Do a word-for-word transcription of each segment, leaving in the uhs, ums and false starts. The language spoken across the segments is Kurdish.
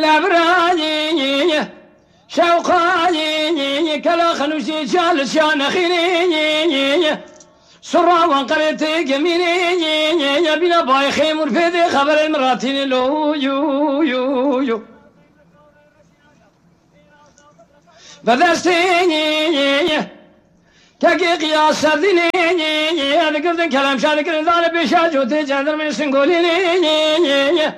Lebrayî, şewqayî, kela xenûşî çal çiya nexînî. Sura wan qerê tê gemînî, bîna bayê xêmûr pê dê xeberê min ratînî lo, yo, yo, yo. Bi destê kekê qiya serdînê, digirdin kelem şa dikirin, dane pêşa cotê cendirmê singolînê.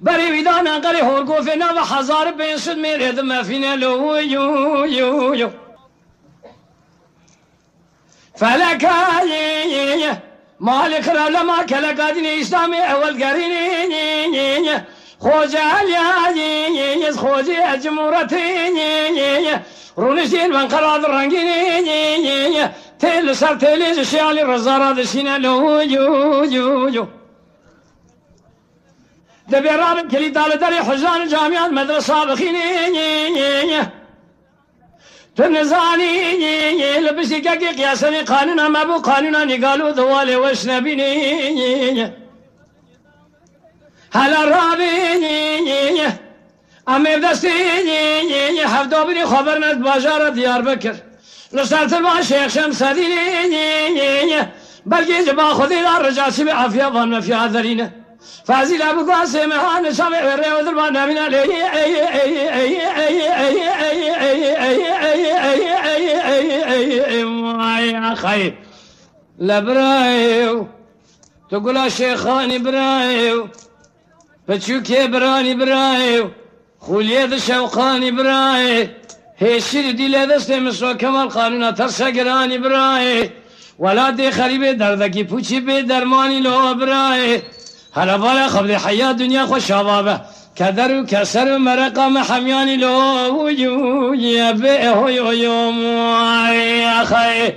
Berê wî dana qerê horgofê nava hezar pênc sed mêrê di mefîne lo, yo, yo, yo. Felekayê, malê xirab lema keleka dînê Îslamê ewel gerînê. Xoce Eliyayê, xocê cimûretê. Rûniştên ben qera di rengînê. Tê li ser têlê ji şêalî rizara dişîne lo, yo, yo, yo. Dibê rabin kilîta li derê huzan camiyan medresa bixînê. Tu nizanî, li piştî kekê qiyasenê qanûna me bû, qanûna nîgalo di walê weş nebînî. Hela rabî, em ê bi destê hevdabînê xwe berne bajara Diyarbekir. Li ser tilba Şêx Şemsedînê, belkî ji ba Xwedê re rica çi be afiya van mefiya derîne. Fazîla bi guasê me han çavê wê rê odir ba nabîna lê. Vay axayê. Le birayê, tu gula şêxanî birayê, piçûkê biranî birayê, xûliyê di şewqanî birayê, hêşî di dîlê destê min so kemal qanûna terse giranî birayê. Welatê xerîbê derdekî pûçî bê dermanî lo birayê. Hele bala xebdê heya dinya xwe şava be. Keder û keser û mereqa me hemyanî lo, uy, uy, bê, hoy, oy, om, ay, axayê.